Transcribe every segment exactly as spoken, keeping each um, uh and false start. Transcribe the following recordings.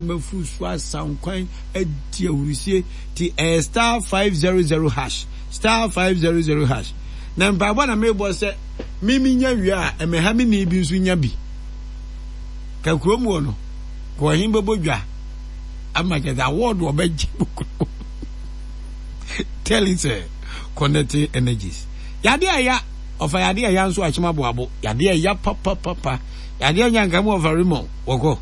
Mɛfuru so asankwan adi ahurusie ti. Ɛyɛ star five zero zero hash, star five zero zero hash. Na mpaebɔ na mebɔ sɛ mimi nya wie a, ɛmɛha me ni bi nso nya bi ka kurom wɔ no kɔ ɔhen bɛbɔ dwa ama kyɛ sɛ award ɔbɛgye tell sɛ connecting energies yade ɛya ɔfa yade ɛya nso akyem aboabo yade ɛya papapapa yade ɛnya nka mu ɔfa remɔ wɔkɔ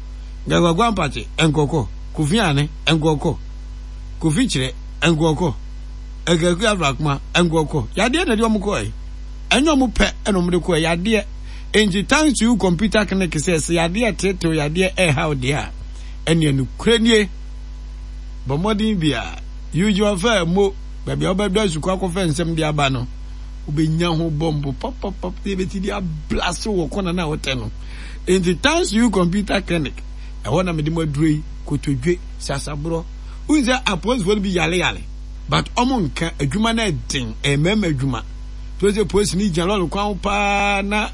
nkakwagu ampakye nkɔkɔ Kofi Ane nkɔkɔ Kofi Kyerɛ nkɔkɔ Akaku Afrakoma nkɔkɔ yadeɛ na ɛde ɔmo kɔɛ. Ɛnyɛ ɔmo pɛ ɛna ɔmo de kɔɛ yadeɛ. Nti Thanks To You Computer Clinic sɛ sɛ yadeɛ tetew yadeɛ ɛɛhaw deɛ a, ɛneɛ nokorɛ nie. Bɔ mmɔden bi a Eugene ɔfɛ mo baabi a wobɛdɔ asukɔ akɔfɛ nsɛm de aba no, wobɛnya ho bɔmbo papapap na yɛbɛti de ablase wɔ kɔna no a wotɛ no. Nti Thanks To You Computer Clinic, ɛhɔ na mede mo aduro yi. Kotodwe sasaborɔ, wohu sɛ apolisifoɔ no bi yale yale, but ɔmo nka adwuma no ɛden. Ɛyɛ mmarima adwuma to sɛ polisi no gyina lɔre kwan ho paa na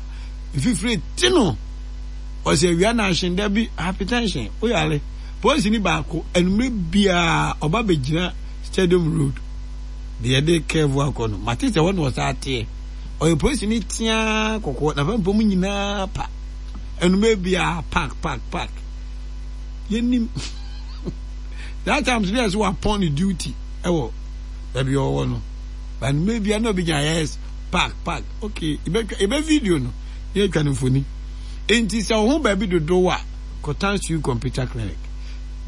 mfifire ti no, ɔsɛ awia na ahyen da bi hypertension woyale. Polisi ni baako, anumere biara ɔba bɛgyina Stadium Road deɛ yɛde kɛɛfo akɔ no, mate sɛ hɔ na ɔsa ateɛ. Ɔyɛ polisi ni teaa kɔkɔɔ na fɛn pɔm nyinaa pa. Anumere biara park park park, yɛnim that time so yɛ sɛ wapɔn ne duty ɛwɔ baabi a ɔwɔ no, but anumere biara na obi gyina, yes, park park. Okay, yɛbɛtwa yɛbɛ video no na yɛtwa no mfoni. Nti sɛ ɔho baabi dodow a, kɔtan Sue Computer Clinic,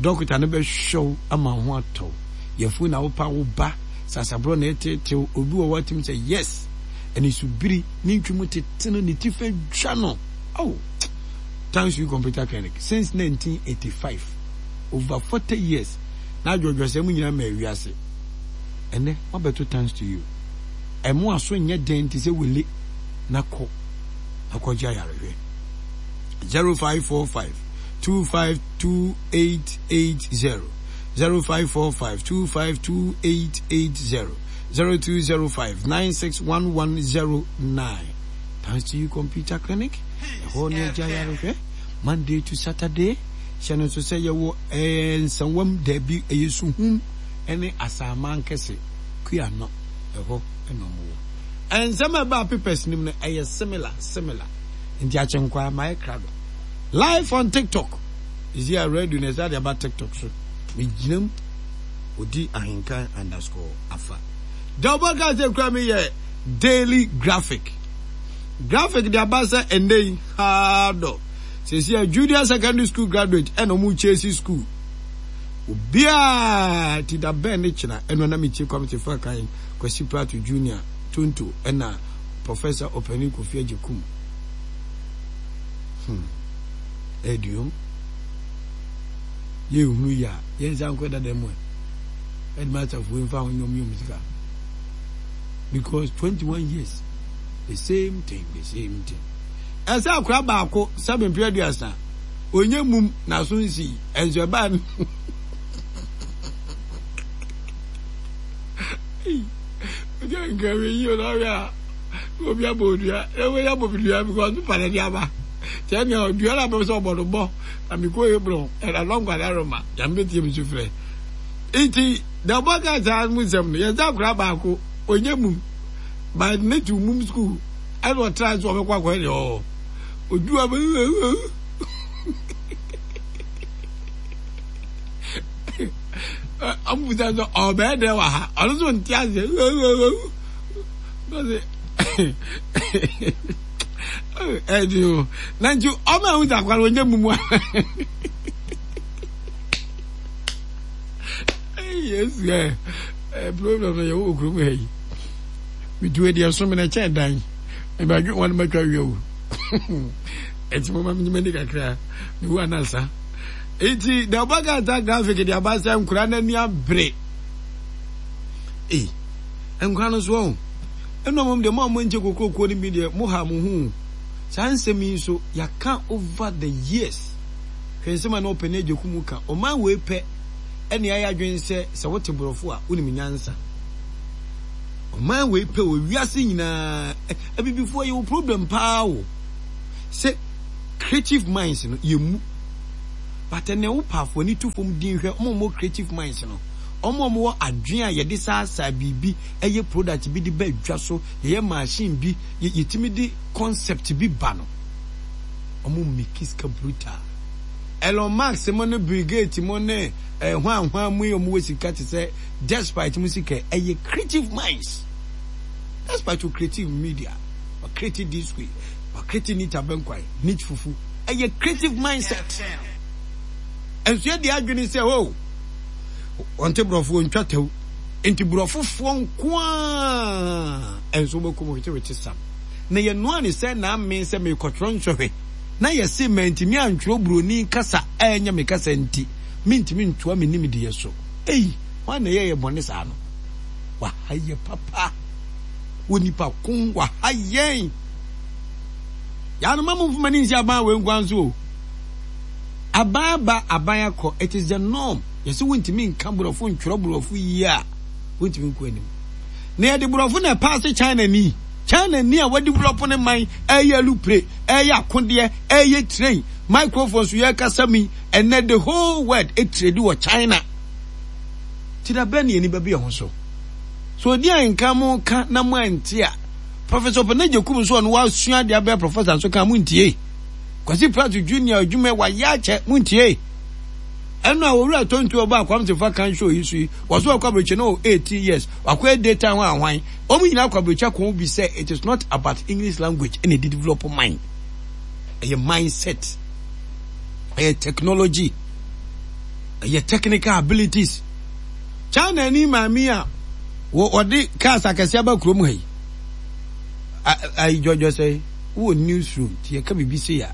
dɔkota no bɛhwɛ wo ama wo ho atɔ wo. Yɛfo na wopa wo ba sasaborɔ na ɛtetew obi wɔ hɔ atim sɛ yes, ɛne subiri ne ntwi mu tete no ne ti fɛ dwa no. Oh, Thanks You Computer Clinic since nineteen eighty-five, over forty years na adwɔdwɔsɛm nyinaa ma awiase. Ɛnɛ wabɛto Thanks To You ɛmo aso nyɛ den te sɛ wele na kɔ akɔgye ayarehwɛ. zero five four five two five two eight eight zero, zero five four five two five two eight eight zero, zero two zero five nine six one one zero nine. Thanks To You Computer Clinic, ɛhɔ ne agya ayarehwɛ Monday to Saturday. Hyɛ no nso sɛ yɛwɔ ɛɛ Nsawam, daabi, ɛyɛ Suhum ɛne Asaaman Kɛse kua no, ɛhɔ ɛna ɔmo wɔ. Nsɛm a ɛbaa papers nim no ɛyɛ similar similar, nti akyenkwa mayɛ krado live on TikTok esi a radio na ɛsɛ de aba TikTok so. Megyina mu odi ahenkan underscore afa deɛ ɔbɛka sɛ kura mi yɛ Daily Graphic. Graphic de aba sɛ ɛnɛ yi haa dɔ sɛsi a junior secondary school graduate ɛna ɔmo kyesi school obiara ti da bɛn ne kyena ɛno na metie Kwame Sefa Kan, Kwasi Prato Junior Tonto ɛna Professor Ɔpanin Kofi Agyekum. hmm ɛduom yɛhunu yi a yɛnsa nkɔ dada mu ɛ headmaster fuo mfa ho nyɔm yɔm sika because twenty-one years, the same thing, the same thing. Ɛsɛ akora baako sɛbe mpere aduasa onye mum n'aso nsi ɛnso ɛbaa no ojú nka mi yi o n'ɔhwɛ a obi abɔ odua ɛwɔ yɛ abɔ dua because pepa na ɛde aba kyɛn nea odua na abɛn sɛ ɔbɔ no bɔ na mi kɔ Hebron ɛna lɔnkɔ adaroma yɛn bɛ tie mi so frɛ. Nti deɛ ɔbɔ kaa saa mu nsɛm no, yɛsɛ akora baako onye mum by ne ti mum school ɛna ɔtra so ɔbɛkɔ akɔyɛ deɛ ɔwɔ odua bɛ ɔmo bisa sɛ ɔbɛyɛ dɛ wɔ ha, ɔno nso nte aseɛ ɔsɛ ɛdi o na nti ɔmo ɛho sɛ akora onye mum a Yesu ɛ ɛ problem no yɛ wɔ kurom ha yi. Metu adi ɛso mi na ɛkyɛn dan mebadwe wɔn matwa wia o. Ɛti mo ma mi nyima ni kakra mewu anasa. Eti deɛ ɔbɛka ta Graphic de aba sɛ nkora n'ani abere ee nkora no so ɔho ɛna ɔmo deɛ mo a mo nkyɛ kokoroko no bi deɛ mo ha mo ho. Saa nsɛm yi nso yɛaka over the years. Hwɛ nsɛm a na ɔpɛ ne agya kum ka ɔman wei pɛ ɛne ayɛ adwene sɛ sɛ wote borɔfo a wonim nyansa. Ɔman wei pɛ wɔ wiase nyinaa, abibifoɔ yɛwɔ problem paa o, sɛ creative minds no yɛmu But ɛnɛ wo paafo ani to fam din hwɛ ɔmo a ɔmo creative minds no, ɔmo a ɔmo wɔ adwene a yɛde saasaa biribi ɛyɛ product bi de ba adwa so, yɛyɛ machine bi, yɛtumi de concept bi ba no, ɔmo make sika brutal. Elon Musk mo ne Bill Gates mo ne eh, hwan hwan mu yi ɔmo wɔ sika te sɛ despite mo sika, ɛyɛ creative minds. Despite o creative media, wa creative this way, wa creative neat abɛnkwan, neat fufu, ɛyɛ creative mindset. Nso yɛ de adwene sɛ o wɔnte borɔfo, wɔntwa tɛw, nti borɔfofoɔ nko a nso wɔbɛkɔ mu wetewete sam. Na yɛnoa ne sɛ na ame sɛ mekɔtwerɛ nsɔhwɛ na yɛse mantumi antwerɛ buroni kasa a ɛnyɛ me kasa nti mentumi ntoa me nimdeɛ so. Ei, hwan na ɛyɛ yɛ bɔne saa no? Waha yɛ papa wɔ nipa ko, waha yɛn. Yɛanoma mo mfoma ne nsi aban wei nkwan so o. Aban aba, aban akɔ, it is the norm. Yɛsɛ wontumi nka borɔfo ntwerɛ borɔfo yie a, wontumi nkɔ anim. Na yɛde borɔfo na ɛpaase China ni. China ni a wɔdevelop ne man, ɛyɛ alupre, ɛyɛ akodeɛ, ɛyɛ train, microphone so yɛkasa mi, ɛnɛ the whole world ɛtrade wɔ China. Ti da bɛn ne yɛni bɛbi ɛho so? So odi a nka mo ka na mo ante a, Professor Opanagye Kum nso ɔno wasua adeɛ abɛyɛ professor nso ka mo ntie. Kwasi Pratt Junior adwuma wayɛ akyɛ mo ntie. Ɛno a owura tontu ɔba akwamtefa kan show yi so yi, wɔso ɔkɔ aburokyi no eighteen years, wakɔ data ho ahwan. Wɔn nyinaa kɔ aburokyi akɔn bi sɛ it is not about English language ɛna ɛde develop mind. Ɛyɛ mindset, ɛyɛ technology, ɛyɛ technical abilities. China ni maame a wɔde cars akɛseɛ aba kurom ha yi, ayi dwɔdwɔ sɛ wowɔ newsroom ti yɛka biribi se a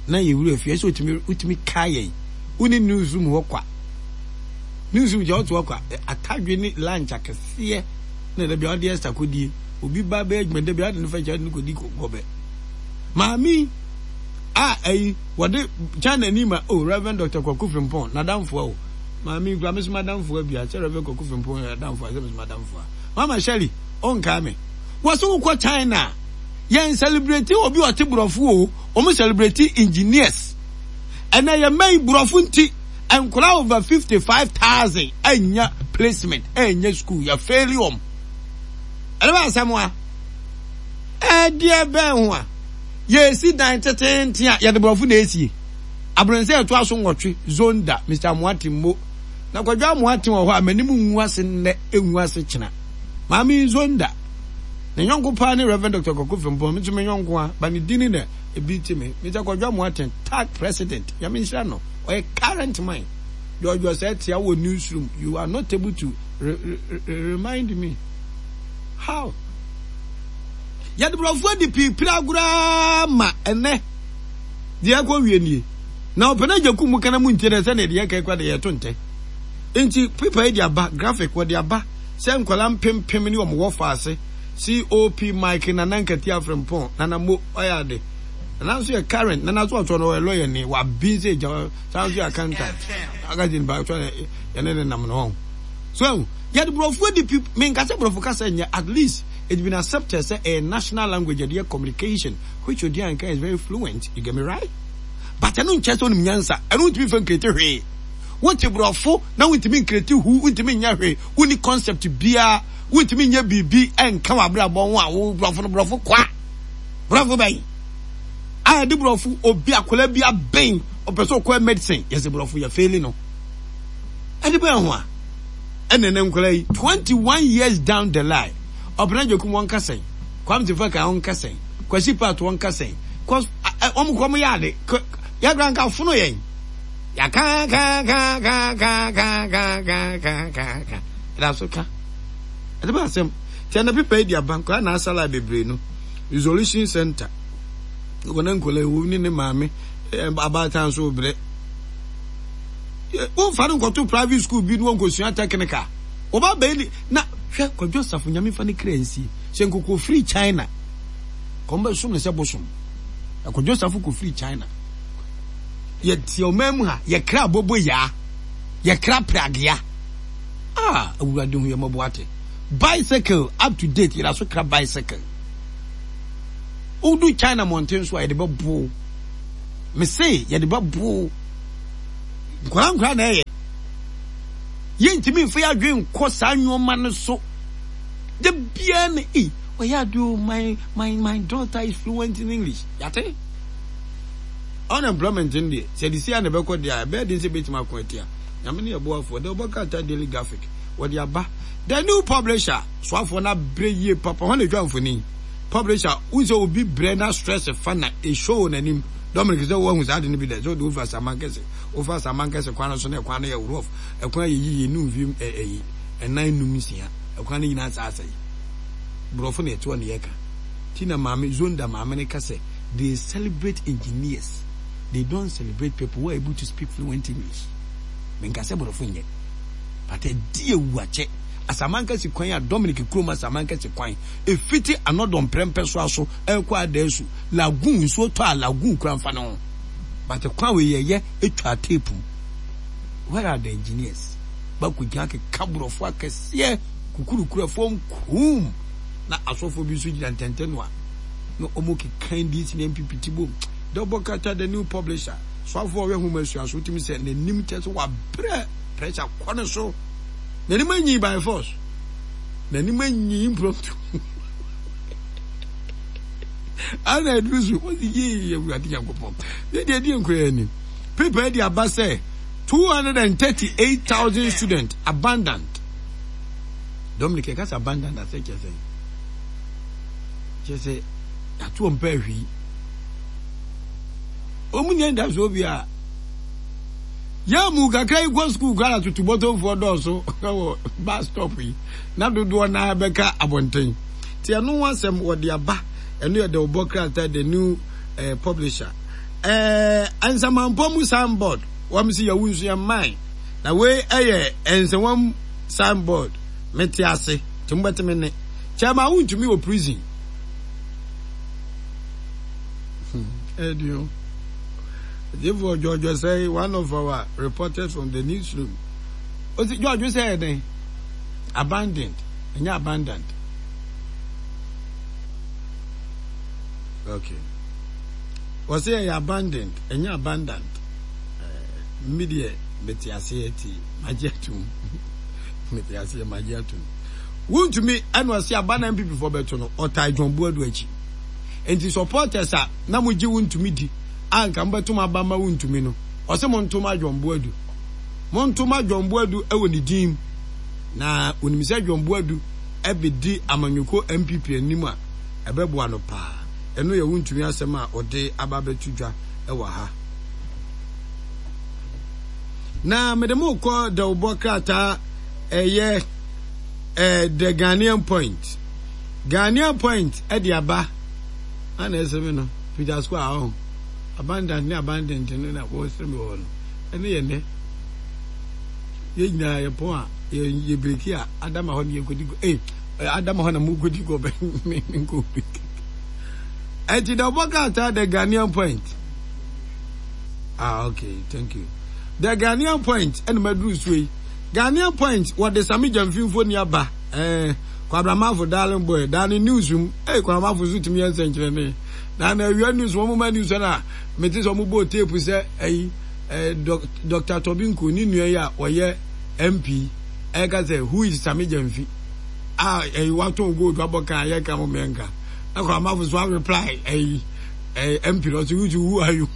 na yɛwura fie ɛsɛ wotumi wotumi ka yɛn wone newsroom hɔ kwa, newsroom gya wote hɔ kwa, atadwe ne lunch akɛseɛ na da bia ɔde ɛsta kɔdie, obi ba bɛyɛ adwuma da bia ɔde ne fa kyɛ ɔde ne kɔdi gɔbɛ. Maame a ayi wɔde China ni ma o Reverend Doctor Kwaku Frimpong n'adamfoɔ o maame kura me so madamfoɔ bia sɛ Reverend Kwaku Frimpong yɛ adamfoɔ sɛ me so madamfoɔ. Mama Shirley ɔnkaa me wɔsɛ wokɔ China yɛn celebrate obi ɔte borɔfo o, wɔn celebrate engineers. Ɛnna yɛn mma yi borɔfo nti nkora over fifty five thousand anya placement, anya school, yɛ fail wɔn. Ɛnna bɛ asɛm a ɛdeɛ bɛn ho a yɛsi dan tetenten a yɛde borɔfo na esie abrɔnsa ɛto aso nwɔtwe zonda Mister Amoate mo na Kwadwo Amoate wɔ hɔ a m'anim ngu ase nnɛ ngu ase kyena maame zonda ne nyɔnko paa ne Reverend Doctor Kwaku Frimpong, me nso me nyɔnko a ba ne din na ebi ti me Mister Kwadwo Amoate tag president Nyame nhyira no, ɔyɛ current man. George Osei tia wɔ newsroom, you are not able to re re re remind me how yɛde borɔfo adi piipiri agoraa ma ɛnɛ deɛ ɛkɔ wie nie na ɔpɛ no agya kum mu kana mu ntie dɛ sɛdeɛ deɛ ɛka kura deɛ yɛto ntɛ nti pepa yi de aba graphic wɔde aba sɛ nkwadaa mpempem ne wɔn wɔ faase C O P Mike Nana Nkati Afrempong Nana Mo ɔyɛ ade Nana nso yɛ current Nana nso ɔtɔ no ɔyɛ lawyer ni wabi nse gya saa nso yɛ accountant agadi nipa ɔtɔ yɛne ne nam no hɔ so yɛde borɔfo adi pi menka sɛ borɔfo kasa nyɛ, at least it's been accepted sɛ a national language yɛde yɛ communication, which odi anka is very fluent, you get me right? But ɛno nkyɛ sɛ onim nyansa, ɛno ntumi fɛ ncreate hwee. Wote borɔfo na wontumi ncreate hu, wontumi nyɛ hwee, wonni concept biara, wontumi nyɛ biribi ɛnka w'abrabɔ ho a wo borɔfo no borɔfo kwa borɔfo bɛn a yɛde borɔfo obi akwadaa bi abɛn ɔpɛ sɛ ɔkɔ medicine, yɛsɛ borɔfo yɛ fail no ɛde bɛn ho a ɛna ne nkwadaa yi twenty one years down the line ɔpɛnɛ gyekum wɔn kasɛn Kwame Tefa kan wɔn kasɛn Kwasi Pat wɔn kasɛn kɔs wɔn kɔ wɔn yɛ ade yɛkura nka fono yɛn yɛka ka ka ka ka ka ka ka ka ka ka ɛda so ka ɛde bɛ asɛm tí ɛna pepa yi di aba nkwadaa na asala bebree no resolution center wɔn nkwadaa yi wɔn ne ne maame abaatan so brɛ wɔmfa no nkɔto private school bi no wɔnkɔsua technical wɔba bɛyi ni na hwɛ Kwadwo Asafo Nyame fa ne kra nsie sɛ nkokɔ firi China kɔn bɛ som ne sɛ bosom. Kwadwo Asafo kɔ firi China yɛte ɔman mu ha yɛkra abobo yaa yɛkra pragea ah Awurade hu yɛ mmɔbɔ ate bicycle up to date yɛda so kra bicycle. Wodu China mmɔnten so a yɛde bɛbo me se yɛde bɛbo. Nkwadaa nkwadaa na ɛyɛ. Yɛntumi mfa yɛn adwene nkɔ saa nneɛma no so. Da biara na ei, ɔyɛ ade o, my, my, my daughter is fluent in English. Yate? Unemployment no deɛ, sɛ de si a na ɛbɛkɔ deɛ a, ɛbɛyɛ den sɛ ɛbɛtumi ako atia. Nyame ne yɛboafoɔ. The Ɔbɔ Krataa Daily Graphic, wɔde aba. The New Publisher, soafoɔ no abrɛ yie papa. Hɔ na ɛtwa mfoni. Publisher, wohu sɛ obi brɛ na stress fa na ɛshow wɔ n'anim. Dominic, sɛ woahu saa ade no bi da, sɛ wode wofa Asamankɛse, wofa Asamankɛse kwan no so na ɛkwan no yɛ rough, ɛkwan yɛ yiye, ne mfie ɛyi, ɛnan num nsia, ɛkwan no nyinaa saa asɛe. Borɔfo na ɛtoɔ na yɛka. Ti na maame, Zonda maame no ka sɛ, they celebrate engineers, they don't celebrate people who are able to speak fluent English. Menka sɛ borɔfo nyɛ, but ɛdi ewu akyɛ. Asamankɛse kwan a Dominic kurom Asamankɛse kwan, ɛfiti anɔdɔ mprɛmpɛ so aso ɛrekɔ Adaasu, lagoon, nsuo tɔ a lagoon kura mfa ne ho. But kwan wei yɛyɛ etwa tape mu. Where are the engineers? Bakɔgyina keka borɔfo akɛseɛ kukurukura fam kum na asɔfoɔ bi nso gyina ntɛntɛ no a na wɔn keka N D C ne N P P ti bom. Dɔbɔ kata The New Publisher soafoɔ ɔwɛ nhoma sua so wotumi sɛ n'anim kyɛ sɛ wabrɛ, pressure kɔ ne so, n'anim anyi by force, n'anim anyi impromptu ana aduru so wɔsi yie. Awurade Nyankopɔn ne deɛ ɛdi nkura anim. Paper de aba sɛ two hundred and thirty-eight thousand students abandoned. Dominic, ɛka sɛ abandoned asɛ kyerɛ sɛ kyerɛ sɛ yɛato wɔn pɛ ahwii, wɔn nyɛ ndasoɔ bi a yɛn mu kakra yi kɔ sukuu kora tutu bɔtɔnfoɔ dɔɔso wɔ bus stop yi na dodoɔ naa bɛka abɔnten. Te ɛno ho asɛm wɔde aba. Ɛno yɛ de ɔbɔ krataa The New eh, Publisher. ɛɛ eh, Nsɛmampɔ mu signboard wɔn si yɛwu nso yɛn man na wei ɛyɛ nsɛwam signboard. Mete ase te mo bɛte me ne kyɛn ma wontumi wɔ prison ɛdi o. Therefore, George say one of our reporters from the newsroom. Osi George say ɛdɛn? Abandoned. Ɛnyɛ abandoned. Okay. Wɔsɛ ɛyɛ abandoned, ɛnyɛ abandoned. Mi deɛ mete aseɛ ti magye atum. Mete aseɛ magye atum. Wontumi ɛna ɔsi aba na N P P fo bɛto no ɔtaa John Buadu akyi. Nti supporters a na mo gye wontumi di a nka mobɛto aba ma wontumi no, ɔsɛ mo ntoma John Buadu. Mo ntoma John Buadu ɛwɔ ne din na onim sɛ John Buadu ɛbɛdi amanyɔkuo N P P anim a ɛbɛboa no paa. Ɛno yɛ wontumi asɛm a ɔde aba abɛto dwa ɛwɔ ha. Na mede mo kɔ dawubɔ krataa ɛyɛ ɛɛ The Ghanaian Point. Ghanaian Point ɛde aba ana ɛsɛ mi no Peter Square ɔho abandon ne abandoned no na wɔsrɛ mi wɔ hɔ no. Ɛne yɛ nɛ yɛn nyinaa yɛ pɔn a yɛ yɛ break a adama hɔ ne yɛ kɔdi ee adama hɔ na mo kɔdi kɔ bɛ me nkɔ break. Ɛnti dawubɔ krataa The Ghanaian Point. Ah, okay, thank you. The Ghanaian Point ɛna maduru so yi. Ghanaian Point wɔde Sami Gyamfi ni aba. Ɛɛ Kwabramafo darling boy daa ne news mu. Ɛy Kwabramafo nso tumi yɛ nsɛnkyerɛnne na na awia news wɔn ma news na mete sɛ wɔn bɔ tape sɛ ɛyi ɛɛ Doctor Tobinko ne nua yi a ɔyɛ M P ɛka sɛ, "Who is Sami Gyamfi?" A ɛyi watɔn gold wabɔ kan yɛ ka mo mɛnka na Kwabramafo so a reply ɛyi ɛɛ M P no ɔsɛ, "Who who are you?"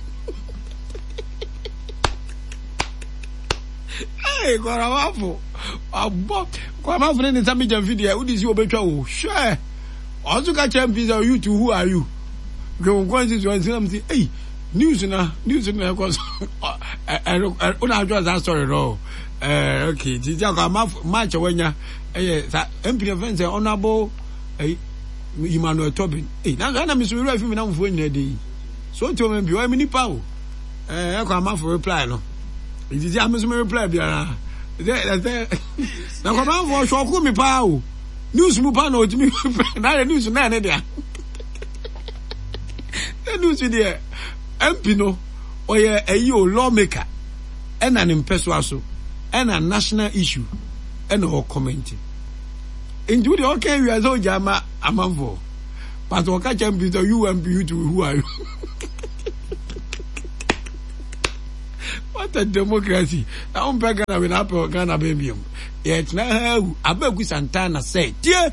Hey, Kwabramafo abɔ Kwabramafo ne ne Sami Gyamfi deɛ wodi si wɔbɛtwa o. Hwɛ, ɔnso ka kyerɛ M P sɛ, "You too, who are you?" Hwɛ wɔn constituency na mo si ɛyi news na news na ɛkɔ so ɛɛ ɛ ɔna adwa saa story no. Ɛɛ okay, ti ti akɔ ama match a wanya ɛyɛ sa M P na fɛn sɛ Honourable ɛyi Emmanuel Tobin. Ɛyi nanso ɛna mi so wura fi mi na mo fo nyina din so otu M P ɔyɛ mi nipa o. Ɛɛ ɛkɔ amafo reply no nti ti ame so mi reply biara sɛ ɛsɛ na kɔmanfo ɔhwɛ ɔko mi paa o. News mu paa na otumi reply na ayɛ news na ɛne deɛ na news deɛ M P no ɔyɛ ɛyi o, lawmaker ɛna ne mpɛsoa so ɛna national issue ɛna ɔcomment. Nti wo deɛ ɔka awia sɛ ɔgya ama amanfoɔ, but ɔka kyɛ M P sɛ, "You M P, you too, who are you?" What What a democracy! Na wompɛ Ghana wei na apɛ Ghana bɛn biom. Yɛtena ha awu. Abeku Santana sɛ tie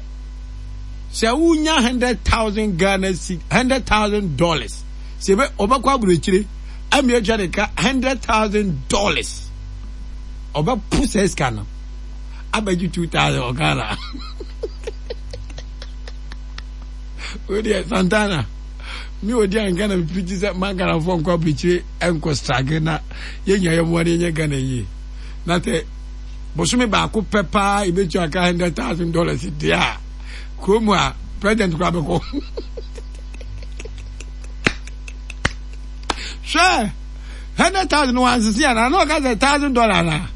sɛ wonya hundred thousand Ghana si hundred thousand dollars sɛ ebe ɔbɛkɔ aburokyire ɛmi atwa ne ka hundred thousand dollars ɔbɛpo sɛ sika no abɛgye two thousand wɔ Ghana. Wei deɛ Santana mi odi a nka na mi pirikyi sɛ ma Ghanafoɔ nkɔ aburokyire nkɔ struggle na yɛnya yɛ mmoa na yɛnyɛ Ghana yie na sɛ bosome baako pɛ paa yɛbɛtua aka hundred thousand dollars deɛ a kurom a president koraa bɛkɔ hwɛ hundred thousand no wansese ana na ɔka sɛ thousand dollar na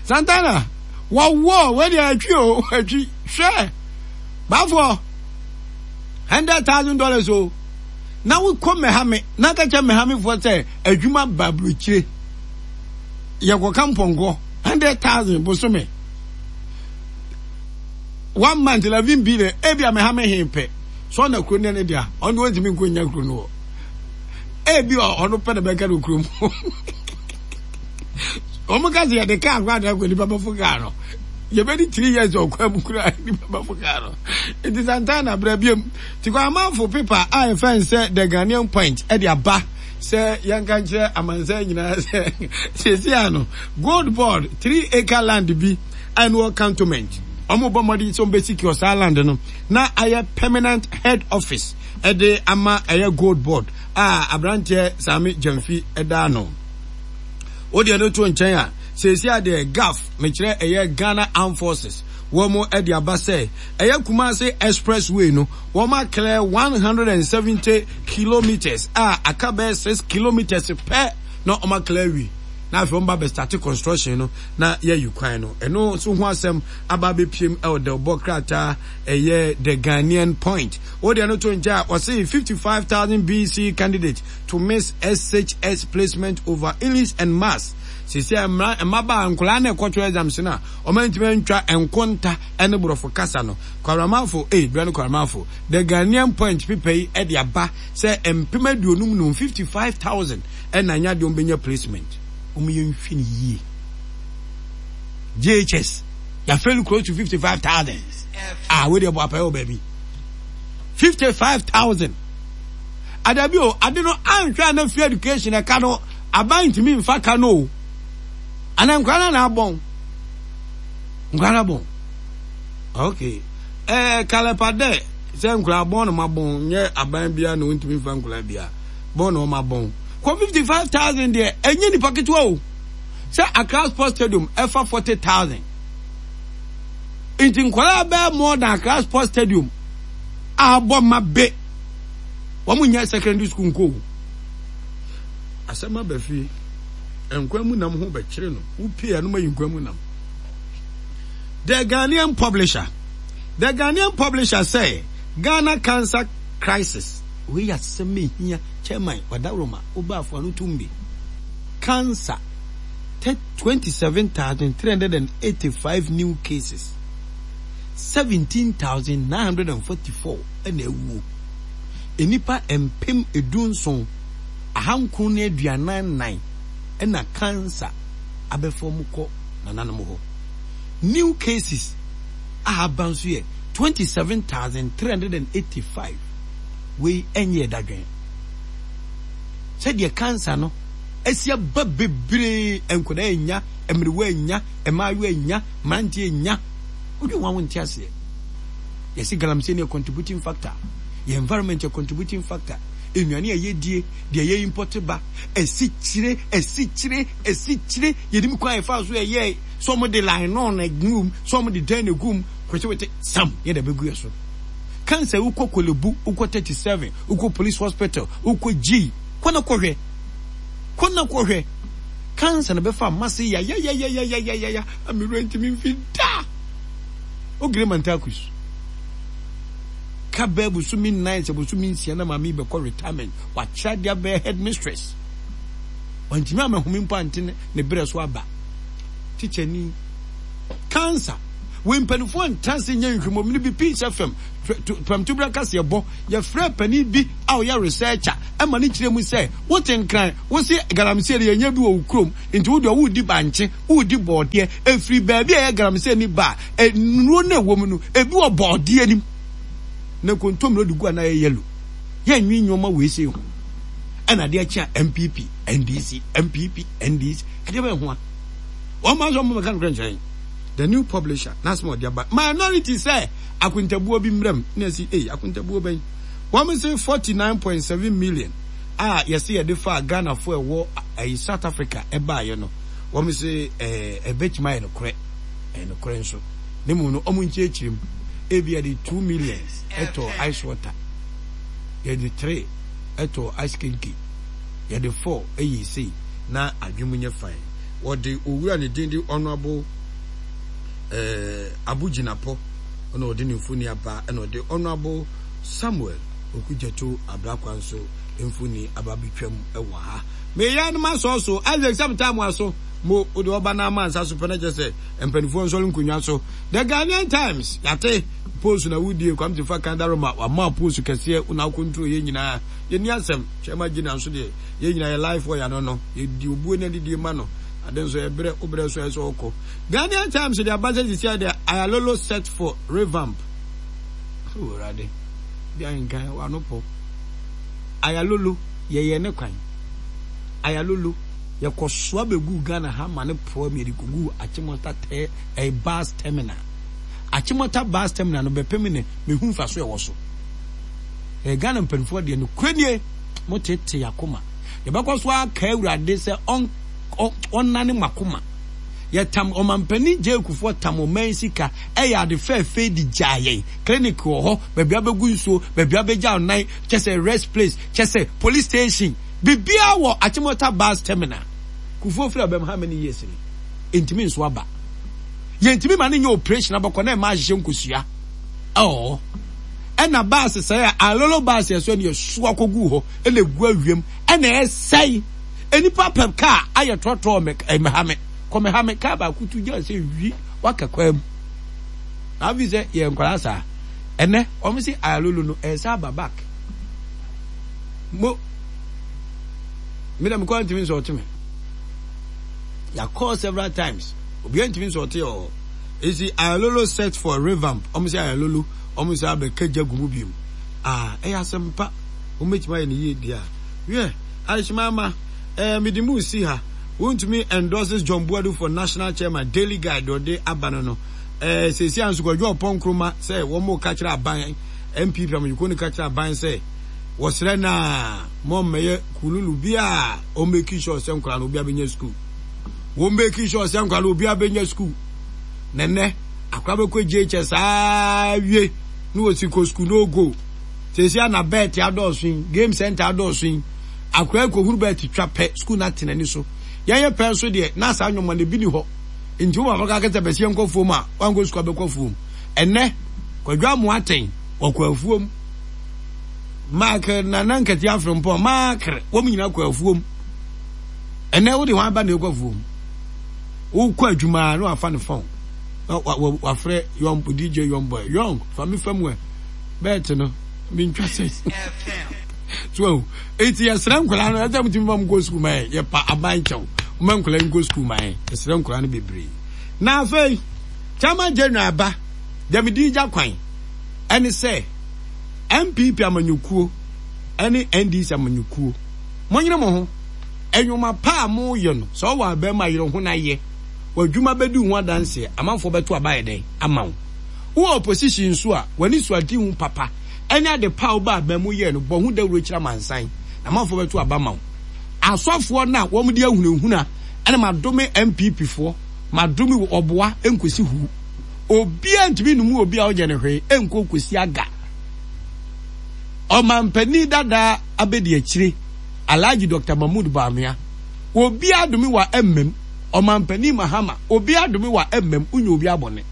Santana wɔwɔ wei deɛ atwi o atwi hwɛ baafoɔ hundred thousand dollars o na wokɔ mmɛhame na ka kyɛ mmɛhamefoɔ sɛ adwuma ba aburokyire yɛkɔka mpɔnkɔ hundred thousand bosome one month eleven billion ebi a mmɛhame he pɛ so ɔna kuro ne ne dea ɔno deɛ ɔntumi nkɔ nya kuro no wɔ ebi a ɔno pɛ na bɛka no kuro mu wɔn ka sɛ yɛde kaa kora de akɔ nipa bɛfo kaa no yɛbɛdi three years ɔkwa mu kura nipa bɛfo kaa no nti Santana brɛ biom ti kɔ amanfo pepa a yɛfɛn sɛ the Ghanaian Point ɛde aba sɛ yɛnka nkyerɛ amansan nyinaa sɛ siesie ano gold board three acre land bi a ɛno wɔ cantonment wɔn bɔ mmɔden sɛ wɔn bɛ secure saa land no na ayɛ permanent head office ɛde ama ɛyɛ gold board a aberanteɛ Sami Gyamfi ɛda ano. Wo deɛ no to nkyɛn a, seesei a deɛ GAF, mekyerɛ ɛyɛ Ghana Armed Forces, wɔn de aba sɛ ɛyɛ Kumasi Express Way no, wɔn a clear one hundred and seventy kilometres a aka bɛyɛ six kilometres pɛ na wɔn a clear awie. Na afei wɔn ba bɛ start construction no na yɛayi kwan no. Ɛno nso ho asɛm aba abɛpiem ɛwɔ dɛwbɔ krataa ɛyɛ The Ghanaian Point. Wo deɛ no to nkyɛn a, wɔse fifty five thousand B C candidate to miss S H S placement over English and Maths. Sisi a mmara mmabaa nkwadaa na ɛkɔtwerɛ exams no a wɔn antumi antwa nkonta ne borɔfo kasa no. Kwaramafo, ei, berɛ no Kwaramafo. The Ghanaian Point pepa yi de aba sɛ mpem aduonum num, fifty five thousand, ɛna anya deɛ wɔbɛnya placement. Wɔn yɛ nhwɛ no yie. J H S, yɛafɛli close to fifty five thousand. Ah, wei deɛ bɔ apɛyɛ wɔ baabi. fifty five thousand. Adabi o, ade no anhwɛ a na free education ɛka no aban ntumi nfa ka no o. Ana nkwa na na abɔn. Nkwa na abɔn. Okay. Eh, kalepa dɛ sɛ nkwa abɔn no ma bɔn nyɛ aban bia na ontumi nfa nkwa bia. Bɔn na ɔma bɔn. Kɔ fifty five thousand deɛ ɛnyɛ nipa ketewa o. Sɛ Accra Sports Stadium ɛfa forty thousand. Nti nkwadaa bɛɛ more than Accra Sports Stadium a abɔ ma be. Wɔn nyɛ secondary school nko o. Asɛm aba fie. Nkwa mu nam ho bɛkyerɛ no. Wopie a no ma yi nkwa mu nam. The Ghanaian Publisher. The Ghanaian Publisher say Ghana cancer crisis. Wei yɛ asɛm ehia chairman Wadaroma Obaafo ano tum bi. Cancer twenty-seven thousand three hundred eighty-five new cases, seventeen thousand nine hundred forty-four ɛna awuo. Nnipa mpem edunson ahankron ne aduanan nan ɛna cancer abɛfa wɔn kɔ nananom hɔ. New cases a aba nso yɛ twenty-seven thousand three hundred eighty-five. Wei ɛnyɛ ɛdadwen. Sɛdeɛ cancer no asi aba bebree, nkwadaa anya, mmerewa anya, mmaayewa anya, mmeranteɛ anya. Wodwen wɔn a wonte aseɛ. Yɛsi galamsey no yɛ contributing factor. Yɛ environment yɛ contributing factor. Nnuane a yɛdie, deɛ yɛ import ba, asikyire, asikyire, asikyire, yɛnim kwan a yɛfa so yɛyɛ sɛ ɔmo de line na egu mu, sɛ ɔmo de dɛn na egu mu, kwetewete sam yɛ de bɛgu yɛ so. Cancer wokɔ Korle Bu, wokɔ thirty-seven, wokɔ Police Hospital, wokɔ G, kɔ na kɔhwɛ. Kɔ na kɔhwɛ. Cancer na bɛfa amase yayayayayayaya amiru ntumi mfi da. Ogire Mantakus. Ka bɛɛ bosome nnan sɛ bosome nsia na maame yi bɛkɔ retirement. Wakyerɛ adeɛ abɛyɛ headmistress. Wantumi amahome mpo ante ne berɛ so aba. Tikyani. Cancer. Wei mpanimfoɔ ntra ase nyɛ nhwehwɛmu no bi. Peace F M Prɛmtoberɛ kaseɛbɔ, yɛfrɛ panin bi a ɔyɛ researcher ɛma ne kyerɛ mu sɛ wote Nkran, wo se galamsey no yɛnyɛ bi wɔ wo kurom, nti wo deɛ wodi bankye, wodi bɔɔdeɛ. Ɛfiri baabi a ɛyɛ galamsey ni ba a, nnuro no ɛwɔ mu no ebi wɔ bɔɔdeɛ nim na kontomire de gu a na ɛyɛ yellow. Yɛnwe nneɛma wei sei ho ɛna adeɛ kye a N P P N D C, N P P N D C, ɛdeɛ bɛyɛ ho a wɔn ma nso wɔn bɛka nokorɛ nkyerɛ. The New Publisher n'asɛm a ɔde aba, minority sɛ akontabuo bi mmerɛm na ɛsi ei, akontabuo bɛn? Wɔn sɛ forty nine point seven million a yɛsɛ yɛde fa Ghanafoɔ ɛwɔ ɛyi South Africa ɛbaayɛ no, wɔn sɛ ɛɛ ɛbɛtumi ayɛ nokorɛ, ɛyɛ nokorɛ nso ne mu no wɔn nkyerɛkyerɛ mu ebi yɛde two million ɛtɔ ice water, yɛde three ɛtɔ ice kenkey, yɛde four ɛyɛ sei na adwene nyɛ fine. Wɔde owura ne din de Honourable ɛɛ Abu Jinapɔ ɛna ɔde ne mfoni aba, ɛna ɔde Honourable Samuel Okudzeto Ablakwa nso mfoni aba abɛtwam ɛwɔ ha. Meyɛ no ma sɔɔ so Isaac sɛ metaa mo aso mo wode ɔba no ama nsa so pɛ no kyerɛ sɛ mpanimfoɔ nsɔre nkonnwa so. The Ghanaian Times, yɛate post na wodie Kwame Sefa Kandaroma wama post kɛseɛ wona wokɔntro yɛ nyinaa. Yɛni asɛm kyɛma gyina nso deɛ yɛn nyinaa yɛ life wɔ yɛano no, yɛdi obuo ne adidie ma no ade nso yɛbrɛ wobrɛ so ɛsɛ ɔkɔ. Ghanaian Times de aba sɛ sisia deɛ Ayalolo set for revamp. Owurade bi ahenkan wano pɔ Ayalolo yɛyɛ ne kwan. Ayalolo yɛkɔsoa bɛgu Ghana ha ma ne poa mi yɛde kɔgu Achimota tɛ ɛyɛ bus terminal. Achimota bus terminal no bɛpem ne mehu mfa so ɛwɔ so. Ɛyɛ Ghana mpanimfoɔ deɛ no kura nie, mo tete akoma. Yɛbɛkɔ so aka Awurade sɛ ɔn ɔnane mo akoma. Yɛtam ɔmampanin gyeekufoɔ tam ɔman sika ɛyɛ ade fɛɛfɛ di gyaa yɛn. Clinic wɔ hɔ, baabi abɛgu nsuo, baabi abɛgya ɔnan, kyɛ sɛ rest place, kyɛ sɛ police station, biribiara wɔ Achimota bus terminal. Kufuor firi abɛm how many years ni ntumi nso aba, yɛntumi ma ne nyɛ operation abɔkɔ na ɛma ahyehyɛ nkosua ɛwɔ hɔ. Ɛna bus sɛe a Ayalolo bus yɛ so ɛna yɛsoa kɔgu hɔ ɛna egu awiem ɛna ɛsɛe. Nipa pɛ kaa ayɛ trɔtrɔ mɛ ɛmɛhame kɔmɛhame kaa baako tu gya sɛ wi waka kwan mu na afi sɛ yɛ nkwadaa saa. Ɛnɛ wɔn si Ayalolo no ɛsɛ aba back mo mi na mi kɔ ntumi nsɔ ɔtumi yakɔ several times, obiara ntumi nsɔ ɔte wɔ hɔ. Esi Ayalolo set for revamp, wɔn sɛ Ayalolo wɔn sɛ abɛka gya gu mu bi mu aa ɛyɛ asɛm pa, wɔn bɛtumi ayɛ ne yie deɛ a wiɛ adehyemama ɛɛ mede mu si ha. Wontumi endorses John Boadu for national chairman. Daily Guide ɔde aba no no ɛɛ sɛsi a nso Kwadwo Ɔpɔn Nkrumah sɛ wɔn mo ka kyerɛ aban, N P P amanyɔkuo no ka kyerɛ aban sɛ wɔsrɛ naa mo mmɛyɛ kululu bi a wɔn make sure sɛ nkwadaa no obi abɛnya school, wɔn make sure sɛ nkwadaa no obi abɛnya school. Nɛnɛ akwadaa bɛkɔ J H S saa wie ne wɔsi kɔ school no go. Sɛsi a na bet adɔɔso yi, game center adɔɔso yi, akwadaa kɔhuru bet twa pɛ, school no atena ni so. Yɛnyɛ pɛ nso deɛ na saa nnwoma no ebi ni hɔ nti wo papa ka kɛsɛ bɛsi yɛnkɔ fuom a wankɔ sukuu abɛkɔ fuom. Ɛnɛ Kwadwo Amoaten wɔkɔ afuom, Mark Nana Nkɛte Afrempɔn Maakere wɔn nyinaa kɔ afuom. Ɛnɛ wode wɔn aba na ɛkɔ afuom, wokɔ adwuma na wafa ne phone na wafrɛ young D J, young boy, young fa mi fa mu ɛ bet no mentwa sɛ so. Eti yɛsrɛ nkwadaa no ɛsɛ mutumi ma mu kɔ sukuu ma yɛ, yɛpa aban kyɛw ma nkwadaa nkɔ sukuu ma yɛ, yɛsrɛ nkwadaa no bebree. Na afei chairman general aba dɛm di gya kwan ɛne sɛ N P P amanyɔkuo ɛne N D C amanyɔkuo, monyere mo ho ɛnwoma pa a moyɛ no sɛ ɔwɔ abɛn mu ayerɛ ho na yɛ w'adwuma bɛdi ho adanseɛ, amanfoɔ bɛto aba yɛ dɛn ama wo. Wowɔ opposition nso a w'ani so adi ho papa ɛne ade pa a woba abɛn mu yɛ no, bɔ ho dawuro kyerɛ amansan na amanfoɔ bɛto aba ma wo. Asɔfoɔ no a wɔn de ahunahuna ɛna madome N P P foɔ, madome ɔboa nkosi hu, obiara ntumi numu obi a ɔnyɛ ne hwee nkɔ nkosi aga. Ɔmampanin dadaa abɛdi akyire Alhaji Doctor Mahmood Bawumia, obiara dome wa mmam. Ɔmampanin Mahama, obiara dome wa mmam, wonyɛ obi abɔne.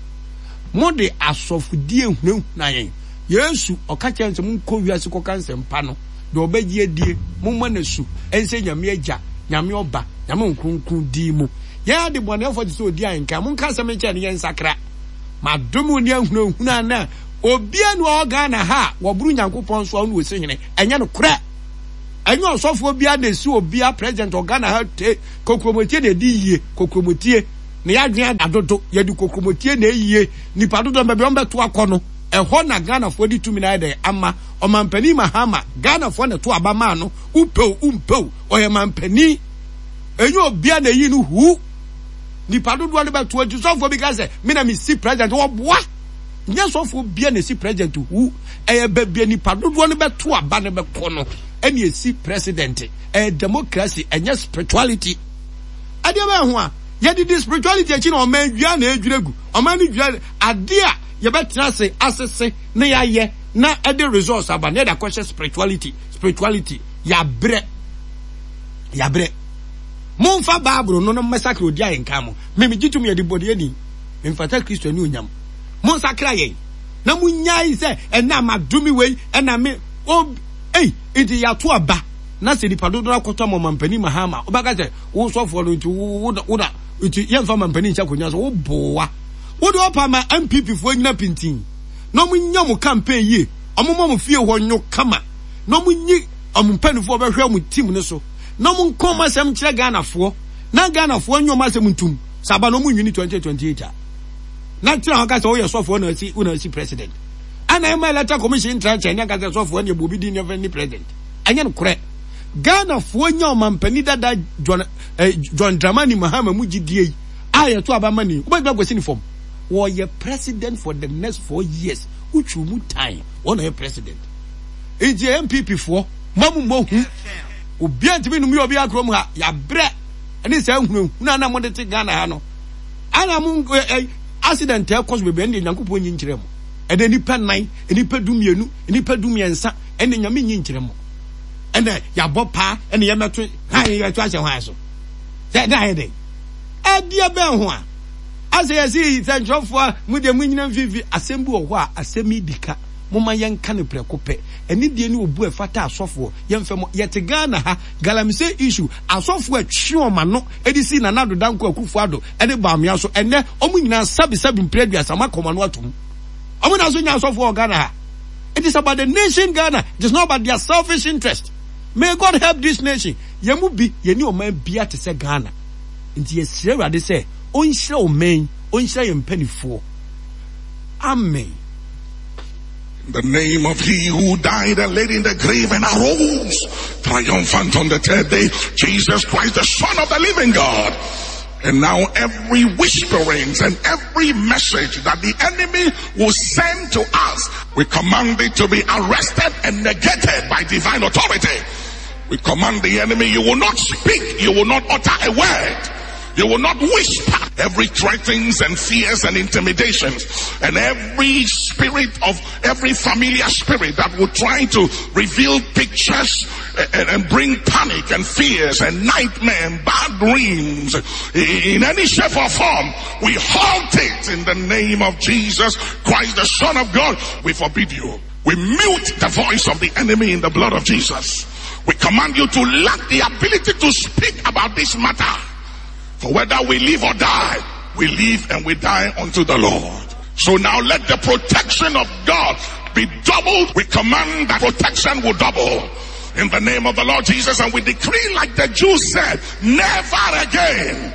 Mo de asɔfodie hunahuna yɛn. Yesu ɔka kyerɛ sɛ monkɔ wiase kɔka nsɛmpa no, deɛ ɔbɛgye adie momma no su ɛnsɛ Nyame Agya, Nyame Ɔba, Nyame Nkronkron din mu. Yɛn ade bɔneɛfoɔ te sɛ odi ahenkan, monka asɛm nkyerɛ no yɛnsakra. Madome ne ahunahuna na obia ne ɔwɔ Ghana ha a wɔboro Nyankopɔn so a ɔno ɔsi hene. Ɛnyɛ no korɛ. Ɛnyɛ ɔsɔfoɔ bia na ɛsi obia president wɔ Ghana ha te kokuromotie na ɛdi yie. Kokuromotie na yɛadwene adodo. Yɛde kokuromotie na ɛyie. Nipa dodoɔ baabi a wɔbɛto akɔ no, ɛhɔ na Ghanafoɔ de tumi na ayɛ dɛn ama ɔmampanin Mahama. Ghanafoɔ na ɛto aba maa no. Wopɛw wompɛw, ɔyɛ mampanin. Ɛnyɛ obia na ɛyi no huu. Nipa dodoɔ no bɛto nti sɔfoɔ bi ka sɛ me na mesi president, wɔboa. Nyɛ sɔfoɔ bia na esi president hu. Ɛyɛ baabi a nipa dodoɔ no bɛto aba no bɛkɔ no ɛna esi president. Ɛyɛ democracy, ɛnyɛ spirituality. Ɛdeɛ bɛyɛ ho a yɛde di spirituality akyi na ɔman dua na edwira gu. Ɔman no dwira adeɛ a yɛbɛtena ase asese na yɛayɛ na ɛde results aba na yɛde akɔhyɛ spirituality. Spirituality yɛabrɛ, yɛabrɛ. Momfa Bible no no mmɛsakra odi a yɛnka mo. Me megye tom yɛde bɔdeɛ memfata Kristo ani onyam. Monsakra yɛn na monyae sɛ ɛna madome wei ɛna me o ei nti yɛato aba na sɛ nipa dodoɔ akɔtɔ ama ɔmampanin Mahama wobɛka sɛ wo sɔfoɔ no nti wo wo na nti yɛmfa mampanin nhyɛ akonnwa so wo boa wode ɔpa ma N P P foɔ nyina pintin na ɔmo nya mo campaign yie, ɔmo ma mo fie hɔ nyo kama na ɔmo nyi ɔmo mpanimfoɔ bɛhwɛ ɔmo team no so na ɔmo nka ɔmo asɛm nkyerɛ Ghanafoɔ na Ghanafoɔ nyɛ ɔmo asɛm ntum sɛ aba na ɔmo nwini twenty twenty-eight a na tena hɔ ka sɛ woyɛ sɔfoɔ na asi wo na asi president ɛna ɛma electoral commission ntra nkyɛn ne aka sɛ sɔfoɔ ne ɛbɔ obi din ne ɛfɛ ne president. Ɛnyɛ no korɛ. Ghanafoɔ nya ɔmampanin dada John, eh, John Dramani Mahama mu gyidie yi a yɛto aba ma ni wobɛtumi akɔsi ne fam. Wɔyɛ president for the next four years. Wotwiw mu tan wɔn na yɛ president. Nti N P P foɔ mo mu mo hu obiara ntumi num yɛ obiara kurom ha yɛabrɛ ɛne saa nhunahuna na mode te Ghana ha no. Ana mo eh, accident ɛkɔ so bebree ɛne Nyankopɔn nyi nkyerɛ mo. Ɛnɛ nipa nan, nipa du mmienu, nipa du mmiɛnsa ɛne Nyame nyi nkyerɛ mo. Ɛnɛ yɛabɔ paa ɛne yɛmɛto han yɛto ahyɛ hwan so. Sɛ ɛdɛ ayɛ dɛn? Ɛdeɛ bɛn ho a asɛ yɛsi sɛnkyerɛfoɔ mo deɛ mo nyina mfimfini asɛm bi wɔ hɔ a asɛm yi di ka. Moma yɛnka no prɛko pɛ. Ɛne deɛ ne obu ɛfata asɔfoɔ yɛmfɛ mo. Yɛte Ghana ha galamsey issue asɔfoɔ atwe wɔn ano ɛde si Nana Addo Dankwa Akufo-Addo ɛde Bawumia so ɛnɛ ɔmo nyinaa sabi sabi mpere aduasa ɔmo akɔma no atum. Ɔmo na so nya asɔfoɔ wɔ Ghana ha. It is about the nation Ghana. It is not about their selfish interest. May God help this nation. Yɛn mu bi yɛni ɔman bia te sɛ Ghana. Nti yɛsrɛ Awurade sɛ ɔnhyira ɔman, ɔnhyira yɛn mpanimfoɔ. Amen. In the name of he who died and laid in the grave and arose triumphant on the third day, Jesus Christ, the Son of the living God. And now every whisperings and every message that the enemy will send to us, we command it to be arrested and negated by divine authority. We command the enemy, you will not speak, you will not utter a word. You will not whisper. Every threatenings and fears and intimidations and every spirit of every familiar spirit that will try to reveal pictures and, and bring panic and fears and nightmare and bad dreams in any shape or form, we halt it in the name of Jesus Christ, the Son of God. We forbid you. We mute the voice of the enemy in the blood of Jesus. We command you to lack the ability to speak about this matter. For whether we live or die, we live and we die unto the Lord. So now let the protection of God be doubled. We command that protection will double in the name of the Lord Jesus. And we decree, like the Jews said, never again